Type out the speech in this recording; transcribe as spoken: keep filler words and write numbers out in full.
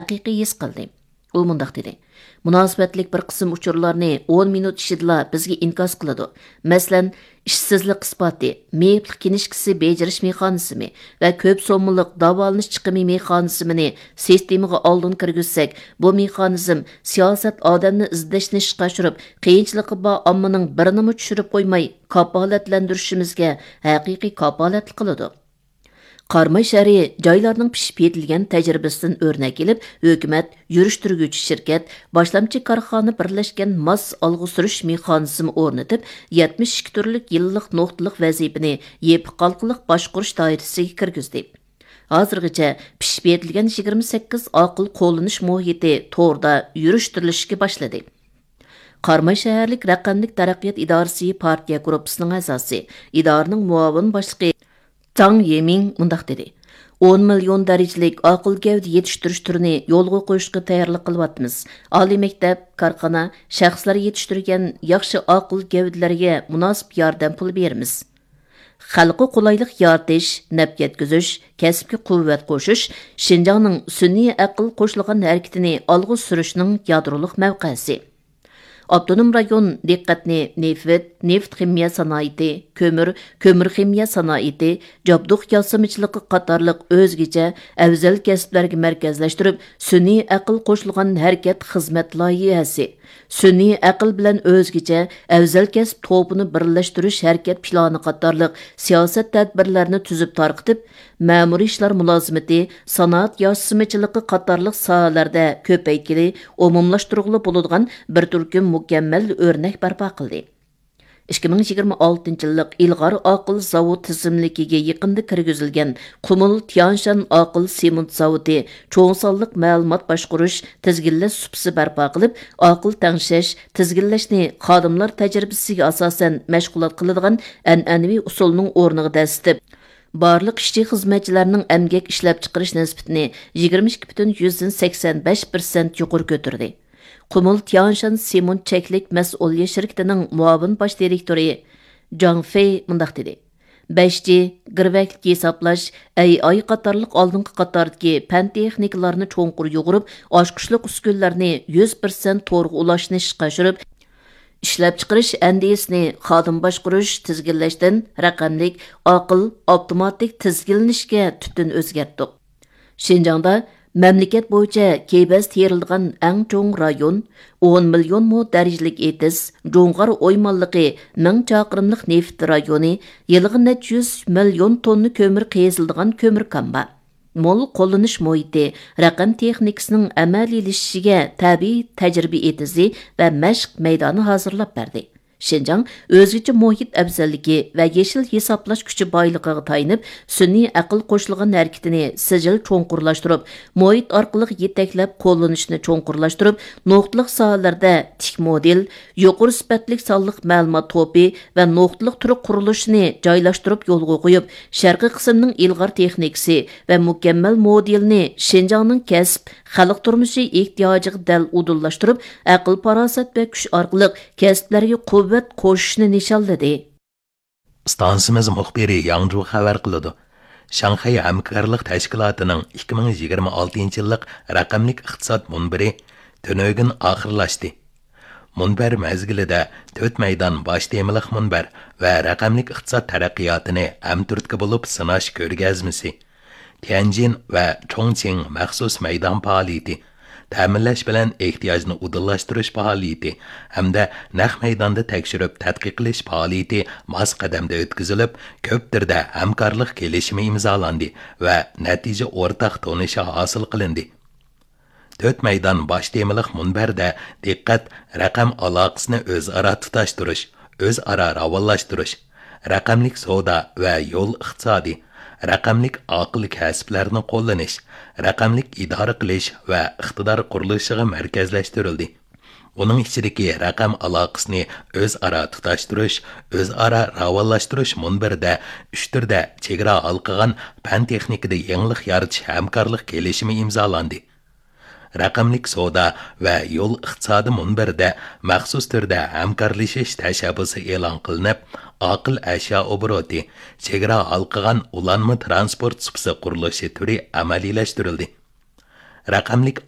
ھەقىقىي ھېس قىلدى. ئۇ مۇنداق دېدى: مۇناسىۋەتلىك بىر قىسىم ئۇچۇرلارنى ئون مىنۇت ئىچىدىلا بىزگە ئىنكاس قىلىدۇ. مەسىلەن، ئىشسىزلىق ئىسپاتى، مېيىپلىق كىنىشكىسى بېجىرىش مېخانىزمى ۋە كۆپ سوممىلىق داۋالىنىش چىقىمى مېخانىزمىنى سىستېمىغا ئالدىن كىرگۈزسەك، بۇ مېخانىزم سىياسەت ئادەمنى ئىزدەشنى ئىشقا ئاشۇرۇپ، قىيىنچىلىقى بار ئاممىنىڭ بىرىنىمۇ چۈشۈرۈپ قويماي، كاپالەتلەندۈرۈشىمىزگە ھەقىقىي كاپالەتلىك قىلىدۇ. قاراماي شەھىرى جايلارنىڭ پىشىپ يېتىلگەن تەجرىبىسىدىن ئۆرنەك ئېلىپ، ھۆكۈمەت، يۈرۈشتۈرگۈچى شىركەت، باشلامچى كارخانا بىرلەشكەن ماس ئالغا سۈرۈش مېخانىزمى ئورنىتىپ، يەتمىش ئىككى تۈرلۈك يىللىق نۇقتىلىق ۋەزىپىنى يېپىق ھالقىلىق باشقۇرۇش دائىرىسىگە كىرگۈزدى. ھازىرغىچە پىشىپ يېتىلگەن يىگىرمە سەككىز ئاقىل قوللىنىش مۇھىتى توردا يۈرۈشتۈرۈلۈشكە باشلىدى. قاراماي شەھەرلىك رەقەملىك تەرەققىيات ئىدارىسى پارتىيە گۇرۇپپىسىنىڭ ئەزاسى، ئىدارىنىڭ مۇئاۋىن باشلىقى جاڭ يېمىڭ مۇنداق دېدى: ئون مىليون دەرىجىلىك ئاقىل گەۋدە يېتىشتۈرۈش تۈرىنى يولغا قويۇشقا تەييارلىق قىلىۋاتىمىز. ئالىي مەكتەپ، كارخانا، شەخسلەر يېتىشتۈرگەن ياخشى ئاقىل گەۋدىلەرگە مۇناسىپ ياردەم پۇلى بېرىمىز. خەلققە قولايلىق يارىتىش، نەپ يەتكۈزۈش، كەسىپكە قۇۋۋەت قوشۇش شىنجاڭنىڭ سۈنئىي ئەقىل قوشۇلغان ھەرىكىتىنى ئالغا سۈرۈشنىڭ يادرولۇق مەۋقەسى. ئاپتونوم رايون دىققەتنى نېفىت، نېفىت خىمىيە سانائىتى، كۆمۈر، كۆمۈر خىمىيە سانائىتى، جابدۇق ياسىمىچىلىقى قاتارلىق ئۆزگىچە ئەۋزەل كەسىپلەرگە مەركەزلەشتۈرۈپ، سۈنئىي ئەقىل قوشۇلغان ھەرىكەت خىزمەت لايىھەسى، سۈنئىي ئەقىل بىلەن ئۆزگىچە ئەۋزەل كەسىپ توپىنى بىرلەشتۈرۈش ھەرىكەت پىلانى قاتارلىق سىياسەت تەدبىرلەرنى تۈزۈپ تارقىتىپ، مەمۇرىي ئىشلار مۇلازىمىتى، سانائەت ياسىمىچىلىقى قاتارلىق ساھەلەردە كۆپەيتكىلى، ئومۇملاشتۇرغىلى بولىدىغان بىر تۈركۈم مۇكەممەل ئۆرنەك بەرپا قىلدى. ئىككى مىڭ يىگىرمە ئالتىنچى يىللىق ئىلغار ئاقىل زاۋۇت تىزىملىكىگە يېقىندا كىرگۈزۈلگەن قۇمۇل تيانشان ئاقىل سېمونت زاۋۇتى چوڭ سانلىق مەلۇمات باشقۇرۇش، تىزگىنلەش سۇپىسى بەرپا قىلىپ، ئاقىل تەڭشەش، تىزگىنلەشنى خادىملار تەجرىبىسىگە ئاساسەن مەشغۇلات قىلىدىغان ئەنئەنىۋى ئۇسۇلنىڭ ئورنىغا دەسسىتىپ، بارلىق ئىشچى-خىزمەتچىلەرنىڭ ئەمگەك ئىشلەپچىقىرىش نىسبىتىنى يىگىرمە ئىككى پۈتۈن يۈزدىن سەكسەن بەش پىرسەنت يۇقىرى كۆتۈردى. قۇمۇل تيانشان سېمونت چەكلىك مەسئۇلىيەت شىركىتىنىڭ مۇئاۋىن باش دىرېكتورى جاڭ فېي مۇنداق دېدى: بەش جى، گىرۋەكلىك ھېسابلاش، ئەي ئاي قاتارلىق ئالدىنقى قاتاردىكى پەن تېخنىكىلارنى چوڭقۇر يۇغۇرۇپ، ئاچقۇچلۇق ئۈسكۈنىلەرنى يۈز پىرسەنت تورغا ئۇلاشنى ئىشقا ئاشۇرۇپ، ئىشلەپچىقىرىش ئەندىزىسىنى خادىم باشقۇرۇش، تىزگىنلەشتىن رەقەملىك، ئاقىل، ئاپتوماتىك تىزگىنلىنىشكە تۈپتىن ئۆزگەرتتۇق. شىنجاڭدا مەملىكەت بويىچە كېبەز تېرىلىدىغان ئەڭ چوڭ رايون، ئون مىليون مو دەرىجىلىك ئېتىز، جۇڭغار ئويمانلىقى، مىڭ چاقىرىملىق نېفىت رايونى، يىلىغا نەچچە يۈز مىليون توننا كۆمۈر قېزىلىدىغان كۆمۈر كان بار. مول قوللىنىش مۇھىتى، رەقەم تېخنىكىسىنىڭ ئەمەلىيلىشىشىگە تەبىئىي تەجرىبە ئېتىزى ۋە مەشىق مەيدانى ھازىرلاپ بەردى. شىنجاڭ ئۆزگىچە مۇھىت ئەۋزەللىكى ۋە يېشىل ھېسابلاش كۈچى بايلىقىغا تايىنىپ، سۈنئىي ئەقىل قوشۇلغان ھەرىكىتىنى سىجىل چوڭقۇرلاشتۇرۇپ، مۇھىت ئارقىلىق يېتەكلەپ قوللىنىشنى چوڭقۇرلاشتۇرۇپ، نۇقتىلىق ساھەلەردە تىك مودېل، يۇقىرى سۈپەتلىك سانلىق مەلۇمات توپى ۋە نۇقتىلىق تۈر قۇرۇلۇشىنى جايلاشتۇرۇپ يولغا قويۇپ، شەرقىي قىسىمنىڭ ئىلغار تېخنىكىسى ۋە مۇكەممەل مودېلىنى شىنجاڭنىڭ كەسىپ، خەلق تۇرمۇشى ئېھتىياجىغا دەل ئۇدۇللاشتۇرۇپ، ئەقىل-پاراسەت ۋە كۈچ ئارقىلىق كەسىپلەرگە قۇۋۋەت قوشۇشنى نىشانلىدى. ئىستانسىمىز مۇخبىرى ياڭجۇ خەۋەر قىلىدۇ. شاڭخەي ھەمكارلىق تەشكىلاتىنىڭ ئىككى مىڭ يىگىرمە ئالتىنچى يىللىق رەقەملىك ئىقتىساد مۇنبىرى تۈنۈگۈن ئاخىرلاشتى. مۇنبەر مەزگىلىدە تۆت مەيدان باش تېمىلىق مۇنبەر ۋە رەقەملىك ئىقتىساد تەرەققىياتىنى ھەمتۈرتكە بولۇپ سىناش كۆرگەزمىسى، تيەنجىن ۋە چۇڭچىڭ مەخسۇس مەيدان پائالىيىتى، تەمىنلەش بىلەن ئېھتىياجنى ئۇدۇللاشتۇرۇش پائالىيىتى ھەمدە نەق مەيداندا تەكشۈرۈپ تەتقىق قىلىش پائالىيىتى ماس قەدەمدە ئۆتكۈزۈلۈپ، كۆپ تۈردە ھەمكارلىق كېلىشىمى ئىمزالاندى ۋە نەتىجە ئورتاق تونۇشى ھاسىل قىلىندى. تۆت مەيدان باش تېمىلىق مۇنبەردە دىققەت رەقەم ئالاقىسىنى ئۆزئارا تۇتاشتۇرۇش، ئۆزئارا راۋانلاشتۇرۇش، رەقەملىك سودا ۋە يول ئىقتىسادى، رەقەملىك ئاقىل كەسىپلەرنى قوللىنىش، رەقەملىك ئىدارە قىلىش ۋە ئىقتىدار قۇرۇلۇشىغا مەركەزلەشتۈرۈلدى. ئۇنىڭ ئىچىدىكى رەقەم ئالاقىسىنى ئۆزئارا تۇتاشتۇرۇش، ئۆزئارا راۋانلاشتۇرۇش مۇنبىرىدە ئۈچ تۈردە چېگرا ھالقىغان پەن تېخنىكىدا يېڭىلىق يارىتىش ھەمكارلىق كېلىشىمى ئىمزالاندى. رەقەملىك سودا ۋە يول ئىقتىسادى مۇنبىرىدە مەخسۇس تۈردە ھەمكارلىشىش تەشەببۇسى ئېلان قىلىنىپ، ئاقىل ئەشيا ئوبوروتى، چېگرا ھالقىغان ئۇلانما تىرانسپورت سۇپىسى قۇرۇلۇشى تۈرى ئەمەلىيلەشتۈرۈلدى. رەقەملىك